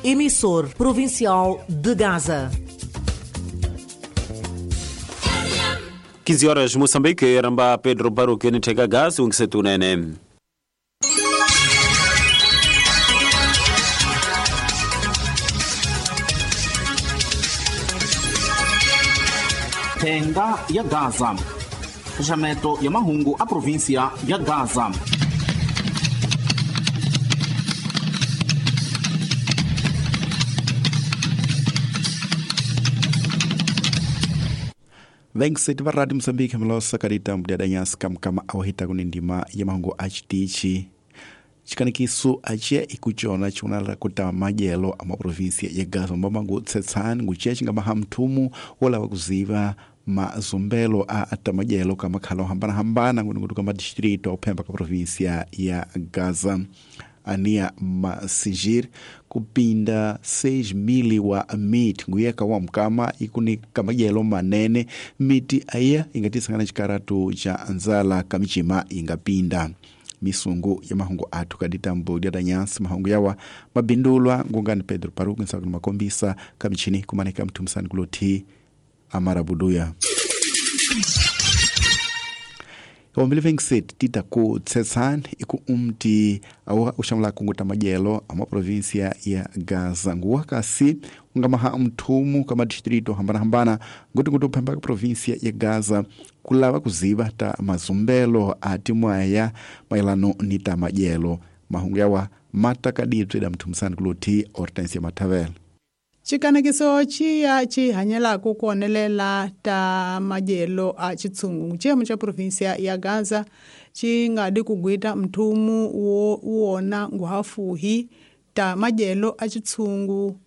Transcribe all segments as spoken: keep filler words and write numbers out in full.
emissor provincial de Gaza. quinze horas Moçambique, ramba Pedro Baruque niteka gasi ungisetunene. Thenga ya Gaza. Xaxameto ya mahungu a província ya Gaza. Venkseti va Radio Moçambique mlosa kadita mdiadanyasi kamkama awahita kunindima ya mahungu achitichi chikanikiso achiya ikuchona chikunala kuta madyelo a maprovinsia ya Gaza mbamangu tsetsani nguchiya chingamaha mthumu wolava kuziva mazumbelo a atamadyelo ka makhala ohambanahambana ngunungutu ka madistrito ophemba ka província ya Gaza. Ania Masigir kupinda seis mil wa miti nguyeka wa mkama ikuni kamadyelo manene miti aya ingatisangana chikaratu cha nzala kamichima ingapinda misungu ya mahungu athu kaditambo dyatanyasi mahungu yawa mabindulwa ngungani Pedro Paruku nsakuni makombisa kamichini kumaneka mthumisani kulothi amarabuduya. Ombili vengset tita ku tsetsani iku umti awa ushamula kunguta madyelo ama província ya Gaza nguwa kasi ungamaha mthumu kama distrito hambanahambana nguti nguti uphemba ka província ya Gaza kulava kuziva ta mazumbelo a timwaya maelano ni ta madyelo mahungu yawa matakadibye da mthumisani kulothi Hortensia Mathavela. Chikanakiso chiya chihanyelaku kuonelela ta madyelo a chitsungu chiyemo cha província ya Gaza chingadi kugwita mthumu wo wona nguhafuhi ta madyelo a chitsungu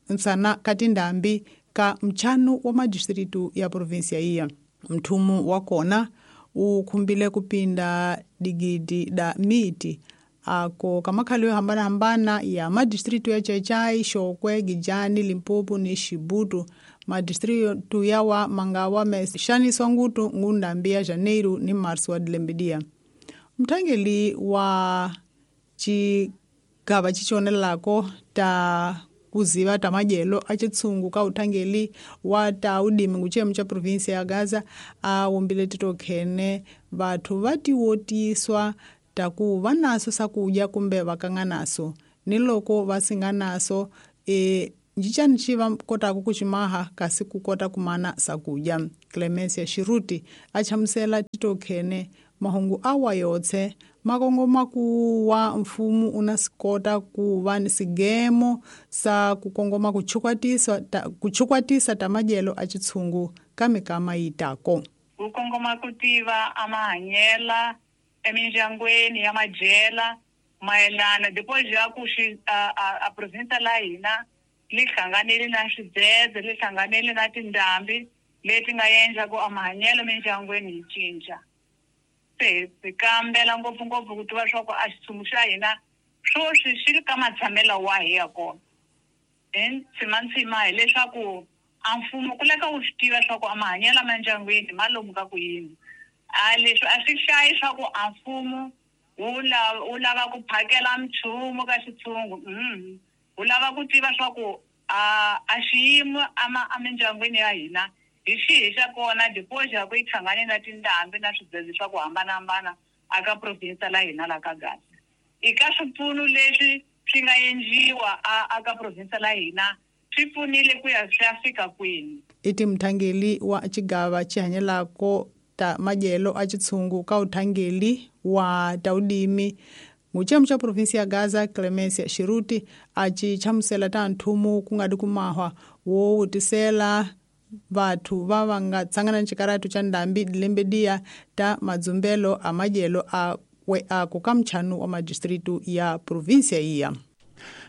nsana katindambi ka mchanu wa madistritu ya província iya. Mthumu wa kona ukhumbile kupinda digidi da miti ako kamakhalo yo hambana-hambana ya madistritu ya Chachai, Shokwe, Gijani, Limpopo ni Shibutu. Madistritu yawa mangawa meshaniswa ngutu ngundambi ya Janeiro ni Marso wa dilembedia. Mthangeli wa chigava chichonelako ta kuziva ta madyelo a chitsungu ka uthangeli wa ta udimi nguchiyemo cha província ya Gaza a wumbile titokhene vathu va tiwotiswa taku va naso sakudya kumbe va kanga naso ni loko va singa naso e njicani xi va kotaka ku ximaha kasi ku kota kumana sakudya. Clemencia Shiruti a chamusela titokhene mahungu awa yotse makongoma ku wa mfumo una sikota ku va ni sigemo sa ku kongoma ku chukwatisa ta, ku chukwatisa ta madyelo a chitshungu ka mikama yitako ku kongoma ku tiva a mahanyela emindyangwini ya madyela mayelana depois ya ku xi a, a, a province la hina li hlanganile na swidzedze li hlanganile na tindhambi leti nga endla ku a mahanyelo mindyangwini yi cinca. Se hi kambela ngopfungopfu ku tiva swa ku a xitshungu xa hina swoswi xi ri ka matshamelo wahi ya kona. Then ntshima hileswaku a mfumo ku leka wu swi tiva swa ku a mahanyelo emindyangwini ma lomu ka ku yini. A leswi a swi hlayi swa ku a mfumo wu lava wu lava ku phakela mchumu ka xitshungu mm wu lava ku tiva swa ku a a xiyimo emindyangwini ya hina hi xihi xa kona depois ya ku yi hlangane na tindhambi na swidzedze swa ku hambanahambana aka province la hina la ka Gaza. I ka swipfuno leswi swi nga endliwa aka province la hina swi pfunile ku ya swi ya fika kwini. I ti mthangeli wa xigava xi hanyelako ta madyelo a chitshungu ka uthangeli wa taudimi nguchiyemo cha província ya Gaza Clemencia Shiruti a chi chamusela ta nthumu ku nga di kumahwa wo wutisela vathu va va nga tsangana ni xikaratu xa ndhambi dilembedia ta madzumbelo a madyelo a we ako ka mchanu wa madistritu ya província iya.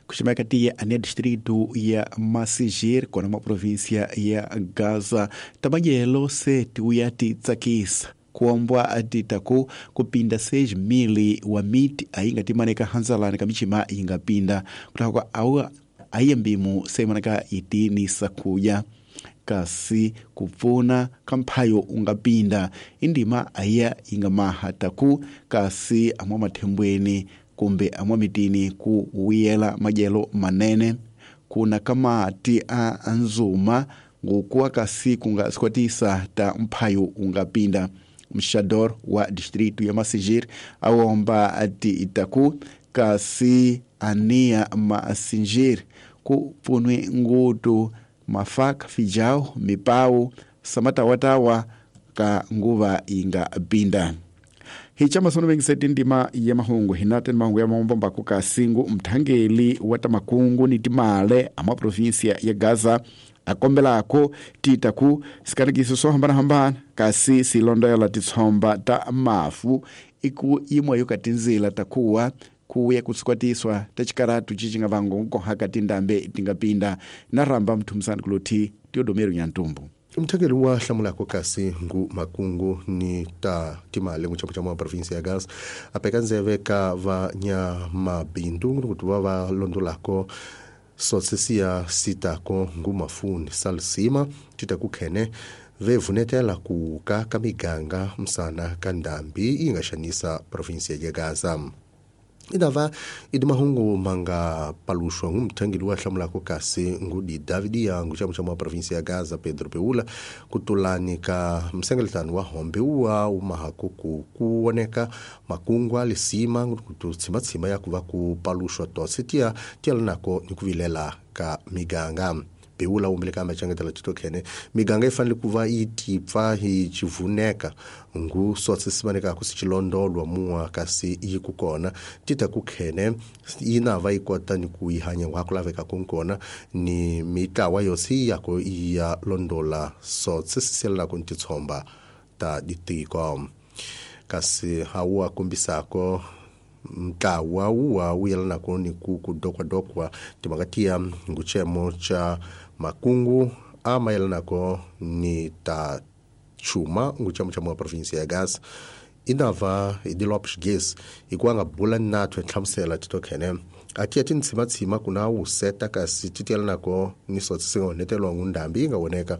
Kuximeka tiya ane distrito ya Masigir kona ma província ya Gaza tamadyelo se tiuya ti tsakisa kuombwa atitaku kupinda seis mil wa miti ainga timaneka hanzalani kamichima ingapinda kutaka awa ayembimu semanaka itini sakuya kasi kupfuna kamphayo ungapinda indima aya ingamaha taku kasi amwa mathembweni kumbe amwa mitini ku wiyela madyelo manene kuna kamati a nzuma ngokuwa kasi kunga sikwatisa ta mphayo ungapinda. Mxador wa distrito ya Massingir awomba ati itaku kasi ania Massingir ku punwe ngutu mafaka fijao mipau samatawatawa ka nguva inga pinda. Hichama sono bengiseti ndima ya mahungu hinate mahungu ya mahumbo kuka singu mthangeli wa makungu ni timale ama provinsia ya Gaza akombelako titaku sikanikiso sohambana hambana kasi silondoela tishomba ta mafu iku imwe yokatinzila takuwa kuya kusikwatiswa tachikaratu chichinga vango nkohaka tindambe tingapinda naramba mthumsani kuloti Teodomero Nyantumbu. Mthangeli wa hlamulako kasi ngu makungu ni ta timale ngu chamu wa provinsia ya Gaza apeka nzeve ka va nya mabindu ngutu va va londolako sotsesia sitako ngu mafuni salsima titakukhene vevunetela kuka kamiganga msana kandambi ingashanisa provinsia ya Gaza. Idava idimahungu manga palushwa ngumthangeli wa hlamulako kasi ngudi David Yangu chamu chamu wa provinsia ya Gaza Pedro Peula kutulani ka msengeletano wa hombe uwa umahakuku kuoneka makungwa lisima ngututsimatsima yakuva kupalushwa totse tia tialanako nikuvilela ka miganga. Peula umbeleka machangetela titokhene miganga ifanele kuva itipfa ichivuneka ngu sotse simaneka kusichilondolwa mua kasi ikukona tita kukhene inava ikota ni kuihanya wakulaveka kunkona ni mitlawa yosi yako iya londola sotse sisela kuntitsomba ta ditiko kasi hawa kumbisako mtlawa uwa uyelanako ni kukudokwadokwa timakatia nguchemo cha makungu ama yelanako ni ta chuma nguchemo cha mwa provinsia ya Gaza inava idilopsh gas ikuanga bula natwe hlamusela titokhene atia tintsimatsima kuna useta kasi titielanako ni sotse singaonetelwa ngundambi ingawoneka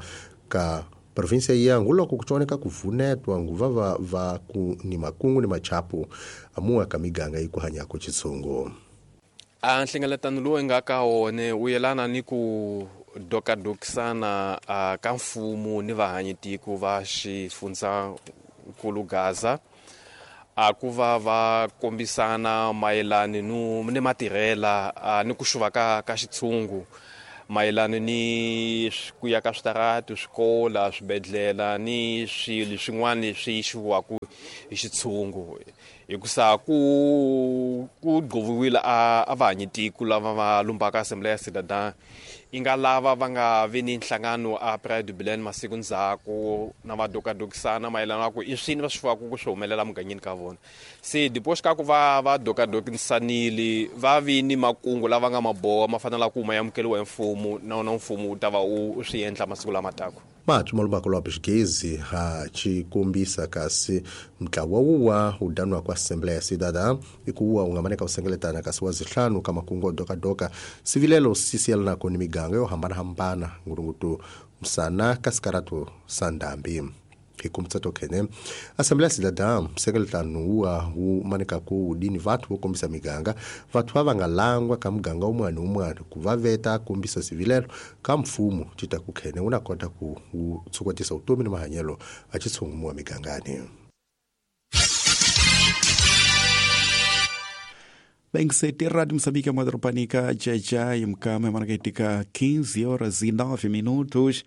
ka provinsia yangu loko kuchoneka kuvunetwa nguva va, va ku ni makungu ni machapu amuwa kamiganga ikuhanyako chitsungu. A nhlengeletano lowu nga ka wona wu yelana ni ku dokadokisana ka mfumo ni vahanyitiko va xifundzankulu Gaza a ku va va kombisana mayelana no ni matirhela ni ku xuva ka ka xitshungu mayelana ni ku ya ka switarati swikola swibedhlele ni swilo swin'wana leswi xiwaku hi xitshungu hikusa ku ku gqoviwile a a vahanyitiko lava va lumbaka Assembly ya Cidadã i nga lava va nga vi ni nhlangano a Praia do Belém masiku ndzhaku na va dokadokisana mayelana na ku i swini va swi fuwaku ku swi humelela mugangeni ka vona. Se depois ka ku va va dokadokisanile va vi ni makungu lava nga maboha ma fanela ku ma amukeriwa hi mfumo na wona mfumo wu ta va wu swi endla masiku lama taka. Mathu malubako lwa Xigezi ha chikombisa kasi mtlawa wuwa udanwa kwa Assembly ya Cidadã ikuwa ungamaneka usengeletana kasi wazihlanu kama kungo doka doka sivilelo sisielana ni miganga yo hambana hambana ngurungutu msana kasikaratu sandambi hikumtsato khene Assembly ya Cidadã msengeletano wuwa umaneka ku udini vathu vokombisa miganga vathu avangalangwa ka muganga umwana umwana kuvaveta kombisa sivilelo ka mfumo titakukhene unakota ku tsukwatisa utomi ni mahanyelo achitshungu wa migangani. Bengiseti Radio Moçambique madropanika jaja imkame manakaitika quinze horas e nove minutos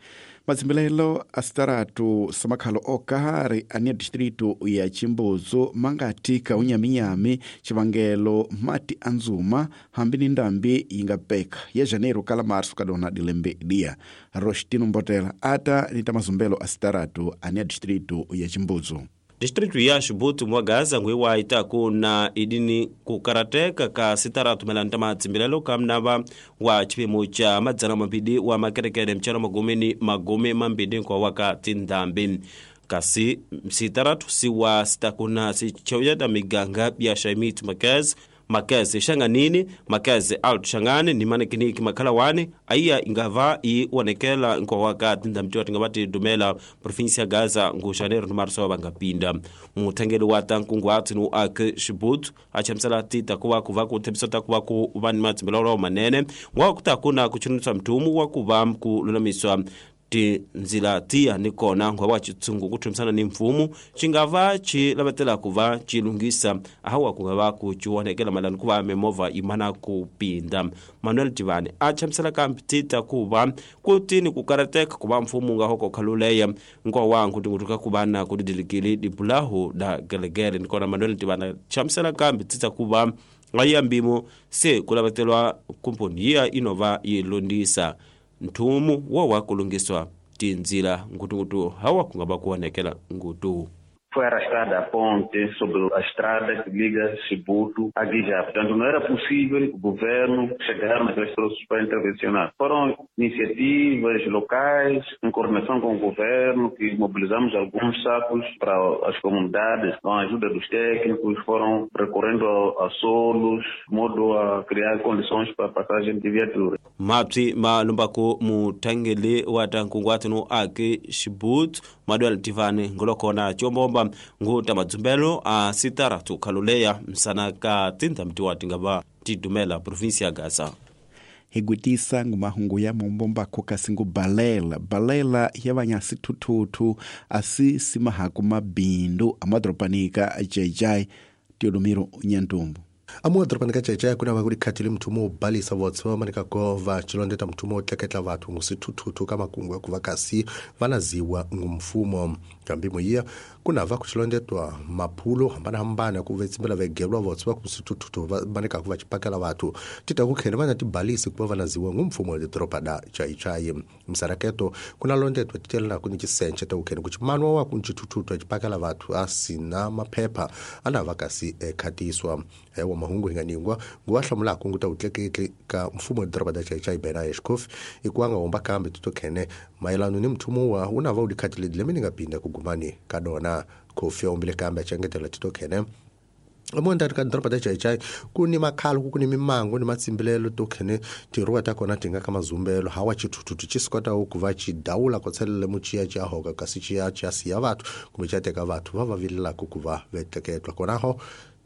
matsimbelelo asitaratu samakhalo okahari ania distrito ya Chimbuzo mangatika unyaminyami chivangelo mati anzuma hambi ni ndambi ingapeka ya janeiro kala março kadona dilembe dia Rostino Mbotela ata nitamazumbelo asitaratu ania distrito ya Chimbuzo. Distrito ya Chibuti mwa Gaza ngwe itaku na idini kukarateka ka sitaratu melanta matsimbilelo kamnava wa chipimo cha madzana mambidi wa makerekere mchana magumini magumi mambidi kwa wakati ndambi kasi sitaratu siwa sitakuna sichawya miganga ya Shaimit Makaz Makeze Xanganini, Makeze Alto Xangani ni Manekiniki Makhalawani aiya ingava i onekela nkowa ka tindhamtiwa tinga va tidumela provinsia Gaza ngu Janeiro ni Marso va nga pinda. Muthengeli wa ta nkunguhato ni uaki Xibutu a chamusela tita ku va ku va ku thembisa ta ku va ku va ni matsimbelo manene wa ku ta ku na ku chunisa mthumu wa ku va ku lulamiswa tinzila tiya ni kona ngwa wa chitsungu ku thumisana ni mfumo xi nga va xi lavetela ku va xi lunghisa hawa ku nga va ku xi onhekela mayelana ku va mimovha yi mana ku pinda. Manuel Tivani a chamusela kambe tita ku va ku tini ku karateka ku va mfumo nga hoko khaluleya nkwa wa nkutingutuka ku va na ku didilikili dibulahu da gelegele ni kona Manuel Tivani a chamusela kambe tita ku va ya mbimo se ku lavetelwa kumponi yiya inova yi londisa nthumu wa wa kulungiswa tinzila ngutungutu hawa ku nga va ku onhekela ngutu. Foi arrastada a ponte sobre a estrada que liga Chibuto a Guijá. Portanto, não era possível o governo chegar naqueles troços para intervencionar. Foram iniciativas locais, em coordenação com o governo, que mobilizamos alguns sacos para as comunidades, com a ajuda dos técnicos, foram recorrendo a, a solos, de modo a criar condições para a passagem de viaturas. Mapsi malumbaku mutangeli wa tankungwatu no ake Chibuto, Manuel Tivani ngolokona chombomba nguta madzumbelo a sitara tukhaluleya msana ka tindhamtiwa tingava tidumela provinsia ya Gaza. Higwitisa ngumahungu ya mombombako kasi ngubalela balela ya vanyasi thuthuthu asi simahaku mabindu amadoropanika jai Teodomiro Nyantumbu. Amu adoropanika Jai kuna va ku dikhatile mthumo wo balisa votse va manika ko va chilondeta mthumo wo tleketla vathu ngusithuthuthu ka makungu ya ku va kasi va naziwa ngumfumo kambi moyiya kuna va ku chilondetwa maphulo hambanahambana ku vetsimbela vegelwa votse va ku sithuthuthu va manika ku va chipakela vathu tita ku khene va na tibalisi ku va va naziwa ngumfumo wa doropa da Jai. Msaraketo kuna londetwa titelela ku ni chisenche ta ku khene ku chimanwa wa ku ntshithuthuthu a chipakela vathu a sina maphepha ana va kasi ekhatiswa ewa mahungu hinganingwa nguwa hlamulaka nguta utleketli ka mfumo wa doroba da Jai Bena Eshkof ikuanga homba kambe tutokhene mayelano ni mthumo wa una va udikhatile lemini nga pinda kugumani kadona kofi ombile kambe achengetela titokhene amonda ka doroba da Jai ku ni makhalo ku ni mimango ni matsimbilelo tokhene tiruwa ta kona tinga ka mazumbelo hawa chithuthuthu chisikota ku va chidawula ko tshelele muchiya cha hoka kasi chiya cha siya vathu kumbe cha teka vathu va va vilelaka ku va vetleketwa konaho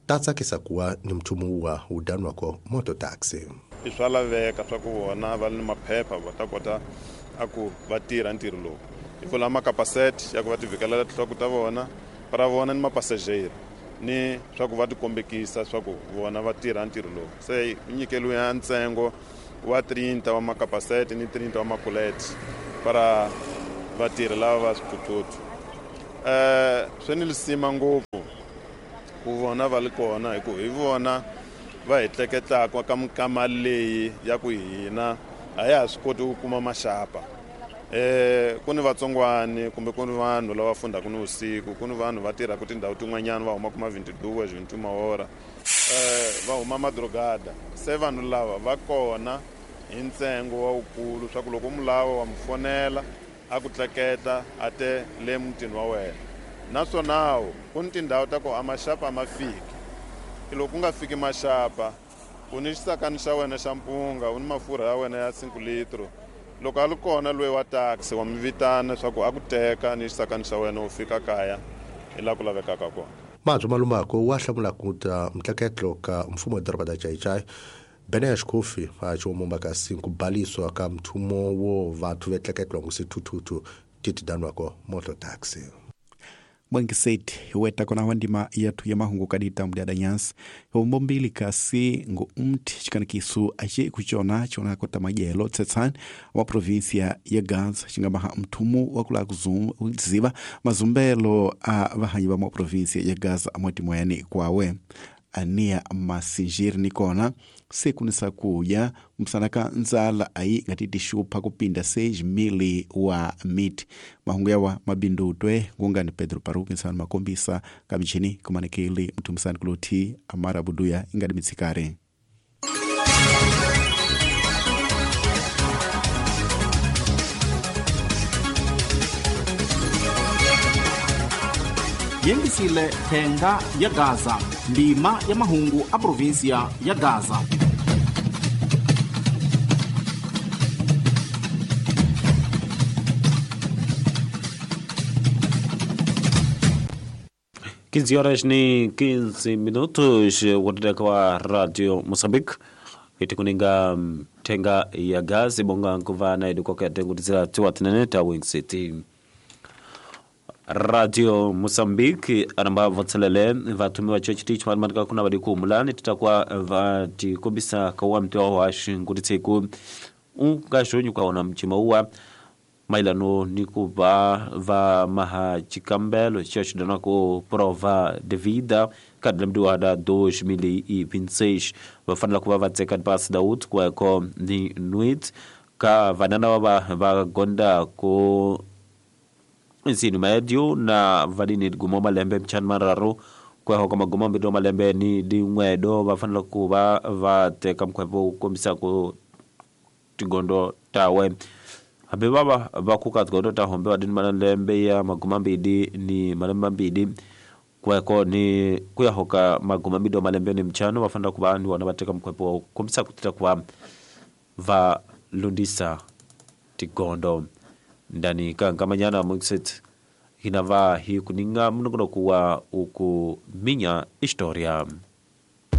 tatsakisa kuwa ni mthumo wa udanwa ko moto taxi. I swa laveka swa ku vona va ni maphepha va ta kota a ku va tirha ntirho lowu hi pfula makapasete ya ku va ti vhikelela tinhloko ta vona ra vona ni mapasajeri ni swa ku va ti kombekisa swa ku vona va tirha ntirho lowu se nyikelo ya ntsengo wa thirty wa makapasete ni thirty wa makulete para vatirhi lava va swithuthuthu eh swi ni lisima ngopfu ku vona va li kona hi ku hi vona va hi tleketlaka ka minkama leyi ya ku hina a ya ha swi koti ku kuma maxapa eh ku ni vatsongwani kumbe ku ni vanhu lava fundaka ni vusiku ku ni vanhu va tirhaka tindhawu tin'wanyana va humaka ma vintiduwa vintimaora eh va huma madrogada se vanhu lava va kona hi ntsengo wa wukulu swa ku loko mu lava wa mu fonela a ku tleketla a te le mutini wa wena naswona ku ni tindhawu ta ku a maxapa a ma fiki loko ku nga fiki maxapa u ni xisakani xa wena xa mpunga u ni mafurha ya wena ya cinco litro loko a li kona loyi wa taxi wa mi vitana swa ku a ku teka ni xisakani xa wena u fika kaya hi laha ku lavekaka kona. Mabyo Malumako wa hlamula ku ta mtleketlo ka mfumo wa doroba da Jai Benesh Kofi a chomomba kasi ku baliswa ka mthumo wo vathu vetleketlwa ngusithuthuthu titidanwako moto taxi. Mwangiseti weta kona wandima yathu ya mahungu kadita mdiada nyasi hombombili kasi ngo mti chikanikisu ache kuchona chona kota majelo tsetsan wa provinsia ya Gaza chingamaha mthumu wakula kuziba mazumbelo a vahanyi va mwa provinsia ya Gaza amwati moyani kwawe ania masinjiri nikona sekunisa kuya msanaka nzala ayi ngatiti shupha kupinda seis mili wa miti mahungu yawa mabindutwe ngungani Pedro Paruki nsani makombisa kamichini kumanekeli mtumisani kuloti amara buduya ingadi mitsikare. Yengisile thenga ya Gaza, ndima ya mahungu a província ya Gaza. quinze horas ni quinze minutos, watendeka wa Radio Moçambique itikuninga thenga ya Gaza bonga nkuva na idikoka tengutizira tiwa tinene ta Wing City. Radio Moçambique anamba vatselele vatumi va church teach matika kuna vadi kuhumulani titakuwa vatikombisa kawa mtiwa wa xingutitsiku ungaxonyu kaona mchima uwa mailano ni ku va va maha chikambelo xo xidana ku prova de vida ka lembe dois mil e vinte e seis va fanela ku va va tseka pasi da ut ku ni nuit ka vanana va va gonda ku ensino médio na vadini gumo malembe mchana mararu kwa hoko magumo mbido malembe ni dinwedo va fanela ku va va teka mkhwepo kombisa ku tigondo tawe hambi vava va kuka tigondo ta hombe vadini malembe ya maguma mbili ni malembe mambili kweko ni kuya hoka maguma mbido malembe ni mchano va fanela ku va ni vona va teka mkhwepo kombisa ku tita ku va va lundisa tigondo ndani kankamanyana mixit hinava hi kuninga mnogono kuwa uku minya historia.